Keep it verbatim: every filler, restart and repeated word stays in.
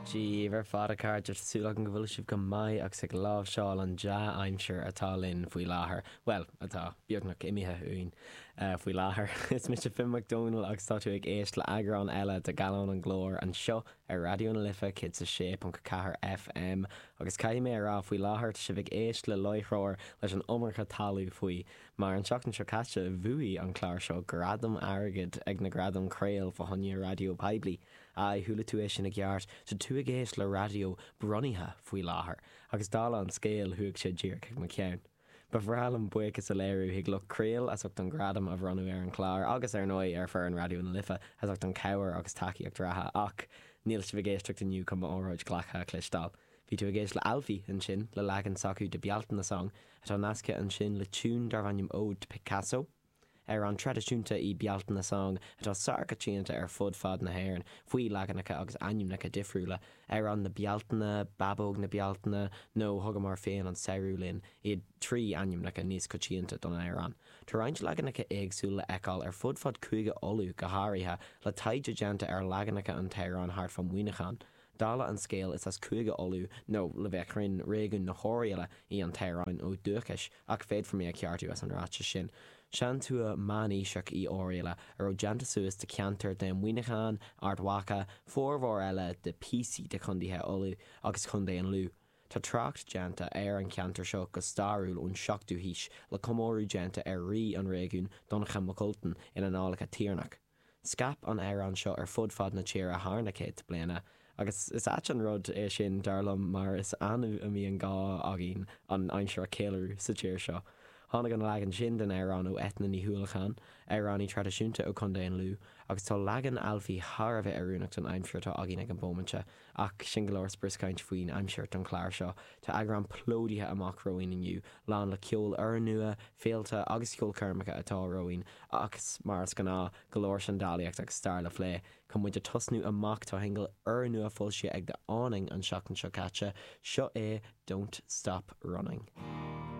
Dia daoibh ar fad a chairde súil agam go bhfuil sibh go maith agus ag láimhseáil an dea-aimsir atá linn faoi láthair. Well atá beagnach imithe uainn uh, faoi láthair. Is mise Finn Mac Dónaill agus tá tú ag éisteacht le eagrán eile de Gallán an Glóir anseo ar Raidió na Life céad a sé ponc ceathair FM agus caithfidh mé a rá faoi láthair sibh ag éisteacht le láithreoir leis an iomarca talún faoi mar an seachtain seo caite bhuaigh an clár seo gradam airgid ag na gradaim Craol fá choinne raidió poiblí. A chuala tú é sin i gceart tá tú ag éisteacht le raidió bronnaithe faoi láthair, agus dála an scéil chuaigh sé díreach ag mo cheann. Ba bhreá liom buíochas a léiriú chuig lucht Craol as ucht an gradam a bhronnadh ar an chlár agus ar ndóigh ar fhoireann Raidió na Life as ucht an cabhair agus tacaíocht reatha ach níl sibh ag éisteacht inniu chun m'óráid glactha a chloisteáil. Bhí tú ag éisteacht le Alfie ansin le leagan s'acu de Bealtaine Song atá nasctha ansin le tiún darb ainm Ode to Picasso. Amhrán traidisiúnta í Bealtaine Song atá sárchoitianta ar fud fad na hÉireann faoi leaganacha agus ainmneacha difriúla amhrán na Bealtaine, Babóg na Bealtaine nó thugamar féin an samhradh linn iad trí ainmneacha níos coitianta don amhrán. Tá roinnt leaganacha éagsúla le feiceáil ar fud fad Chúige Uladh go háirithe le taighde déanta ar leaganacha an t-amhrán thart fá Mhuineachán. Dála an scéil is as Cúige Uladh nó le bheith cruinn réigiún na hOirialla í an t-amhrán ó dhúchas ach féadfar mé a cheartú as an ráiteas sin. Seantuath meánaoiseach í Oirialla a raibh déanta suas de cheantar de Mhuineachán, Ard Mhacha, formhór eile de phíosaí de chontaetha Uladh agus Chontae an Lú. Tá trácht déanta ar an cheantar seo go stairiúil ón seachtú haois le comóradh déanta ar rí an réigiún Donnchadh Mac Ultain in Annálacha Tiarnach. Scaip an amhrán seo ar fud fad na tíre thar na céadta bliana, agus is ait an rud é sin dar liom mar is annamh a mbíonn gá againn an aimsir a cheiliúradh sa tír seo. Tháinig an leagan sin den amhrán ó Eithne Ní Uallacháin, amhránaí traidisiúnta ó Chontae an Lú, agus tá leagan Alfie thar a bheith oiriúnach don aimsir atá againn ag an bhomaite, ach sin go leor sprioscaint faoin aimsir don chlár seo, Tá eagrán plódaithe amach romhainn inniu, lán le ceol úrnua, féilte agus ceolchoirmeacha atá romhainn, agus mar is gnáth go leor seandálaíocht agus stair le plé. Chun muid a tosnú amach tá singil úrnua foilsithe ag The Awning an seachtain seo caite, seo é Don't Stop Running.